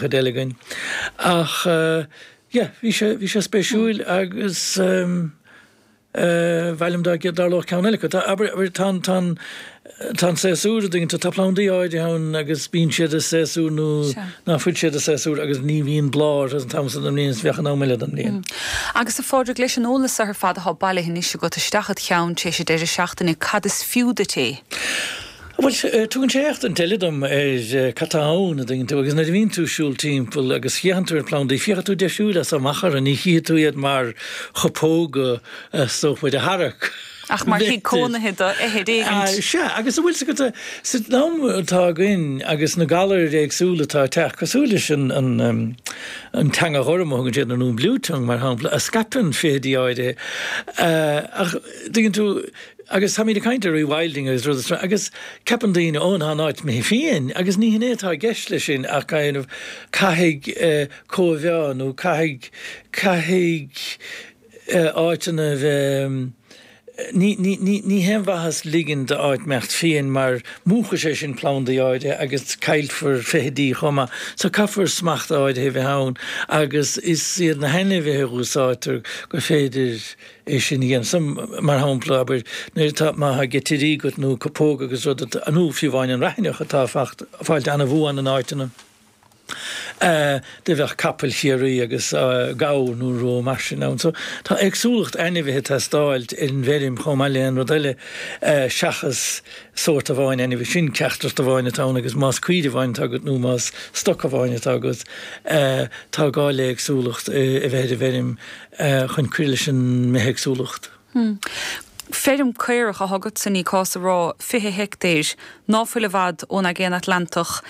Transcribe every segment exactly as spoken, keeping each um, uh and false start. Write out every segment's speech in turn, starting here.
chuid eile againn. Ach yeah, bhí sé, bhí sé spéisiúil agus ba mhaith liom dá dtarlódh ceann eile acu. Tá, abair, abair, tá an, tá an, tá an séasúr, a dtuigeann tú, tá plandaí áirithe ann agus bíonn siad i séasúr nó ná fuil siad i séasúr agus ní bhíonn bláth orthu an t-am san den mbliain is bheadh an am eile den mbliain. Agus a Phádraig, leis an eolas ar fad atá bailithe anois agat isteach id cheann tar éis an deireadh seachtaine, cad is fiú duit é? Bhuel, tugann sé éachtaint eile dom ar cad tá ann, a dtuigeann tú, agus nuair a bhíonn tú ag siúl timpeall agus féachann tú ar phlandaí, féachann tú deisiúil as so amach orthu, ní chífidh tú iad mar chupóga is dócha a tharrac. Ach mar thigh cónaithe do fheithid éigint. Sea, agus an bhfuil 's agat, san am atá againn agus na galair éagsúla atá ag teacht, cosúil leis an an teanga ghorm a thugann siad nó an blue tongue mar shampla, a scaipeann feithidí áirithe, ach tuigeann tú, Agus táimid ag caint ar rewilding agus rudaí seo agus ceapann daoine, ó tá an áit imithe fiáin agus ní hin é atá i gceist leis sin ach kind of caithfidh cóimheá nó caithfidh, caithfidh áiteanna a bheith, ní, ní, ní, ní haon mhaitheas ligean d'áit imeacht fiáin mar múchfaidh sé sin plandaí áirithe agus caillfear feithidí chomh maith. So caithfear smacht áirithe a bheith ann agus is iad na hainmhithe a úsáidtear gur féidir é sin a dhéanamh. So, mar shampla, abair, nuair atá, má tá geitirí agat nó cupóga agus rud, nó fiú amháin an raithneach atá ag fáilt an-bhuan in áiteanna, do bheadh capaill Chiarraí agus gabhar nó rud mar sin ann. So, tá éagsúlacht ainmhithe ag teastáilt ar an bhfeirm chomh maith le aon rud eile seachas sórt amháin ainmhí. Sin teachtaireacht amháin atá ann agus más caoire amháin atá agat nó más stoc amháin atá agat, tá gá le éagsúlacht a bheith ar an bhfeirm. chun cur leis an mbithéagsúlacht. Feirm caorach atá agatsa, ní cás a rá, fiche heictéir, ná fuil i bhfad ón Aigéan Atlantach.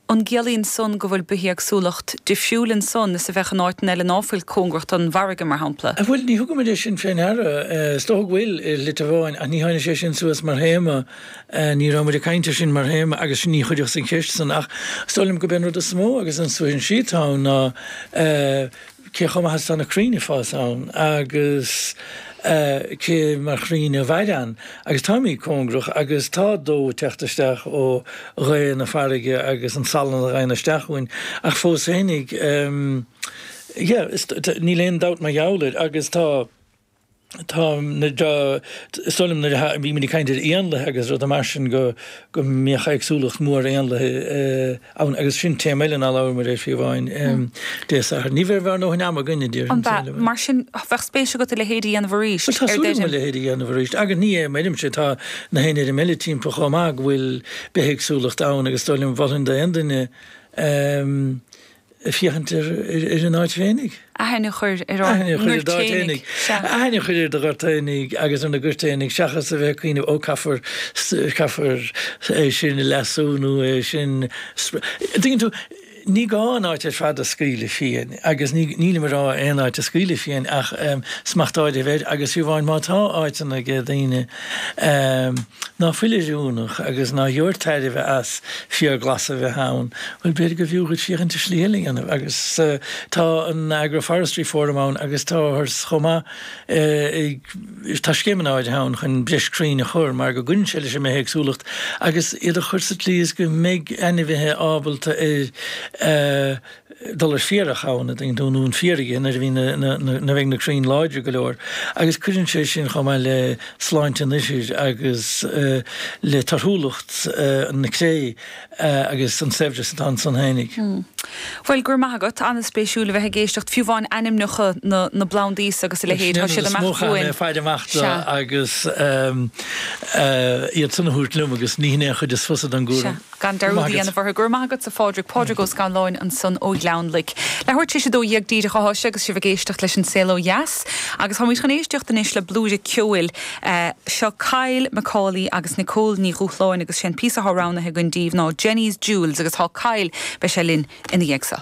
An gciallaíonn san go bhfuil bithéagsúlacht difriúil ansan is a bheadh in áiteanna eile ná fuil cóngarach don bhfarraige, mar shampla? Bhuel, ní thugaimid é sin fé ndeara. Is dócha go bhfuil, i slite amháin, ach ní tháinig sé sin suas mar théama. Ní raibh muid ag caint air sin mar théama agus ní chuireas an cheist san ach is dóigh liom gurb é an rud is mó agus an suaithinsí atá ann ná cé chomh maith is atá na crainn ag fás ann agus cé mar chrainn a mhaireann agus táimid cóngarach agus tá dó ag teacht isteach ó ghaoth na farraige agus an salann a ghabhann isteach chugainn ach fós fhéinig yeah níl aon dabht mar gheall air agus tá Tá, is dóigh liom nuair a bhí muid ag caint ar éanlaithe agus rudaí mar sin go go mbíodh éagsúlacht mhór éanlaithe ann agus sin téama eile nár labhair muid air fiú amháin Dé Sathairn. Ní bheidh ár ndóthain ama againn a déarfainn. An ea? Mar sin bheadh spéis agat a leithéid a dhéanamh arís Bhuel tá súil agam a leithéid a dhéanamh arís agus ní é m'fheirmse, tá na haon fheirm eile timpeall chomh maith go bhfuil bithéagsúlacht ann agus is dóigh liom mholfainn d'aon duine féachaint ar an áit féinig. Aithne a chur ar ár ngoirt fhéinig. Aithne a chur ar do ghort fhéinig agus ar na goirt fhéinig seachas a bheith ag cuimhneamh ó caithfear caithfear é sin a leasú nó é sin Tuigeann tú, ní gá an áit ar fad a scaoileadh fiáin agus nílim ag rá aon áit a scaoileadh fiáin ach smacht áirithe a bheith air agus fiú amháin má tá áiteanna ag daoine ná fuil oiriúnach agus ná gheobhair tairbhe as fiarghlas a bheith ann, bhuel, b'fhéidir gurbh fhiú dhuit féachaint ar shlí eile a dhéanamh. Agus tá an Agroforestry Forum ann agus táthar chomh maith ag, tá scéimeanna áirithe ann chun breis crainn a chur mar go gcuireann sé leis an mbithéagsúlacht agus iad a chur sa tslí is go mbeidh ainmhithe ábalta ar dul ar féarach ann, a dtuigeann tú, nó an féar a ithe nuair a bhíonn na, na, nuair a bheidh na crainn láidir go leor. Agus cuireann sé sin chomh maith le sláinte an ithir agus le torthúlacht na cré agus an saibhreas atá ansan fhéinig. Bhuel, go raibh maith agat. An-spéisiúil a bheith ag éisteacht, fiú amháin ainmneacha na na bplandaí agus a leithéid, tá siad amach uainn. Is mó chaithfidh mé faire amach do agus iad san a thabhairt liom agus ní hin é an chuid is fusa den gcúram. Sea. Gan dearúd a dhéanamh orthu. Go raibh maith agatsa, a Phádraig. Pádraig Ó Scanláin ansan ó Ghleann Loic. Leathuair tar éis a dó dhéag díreach atá sé agus sibh ag éisteacht leis an Saol Ó Dheas. Agus táimid chun éisteacht anois le blúire ceoil. Seo Kyle McCauley agus Nicole Ní Dhúshláin agus sé an píosa atá roghnaithe againn díobh ná Jenny's Jewels agus tá Kyle, beidh sé linn ina dhiaidh seo.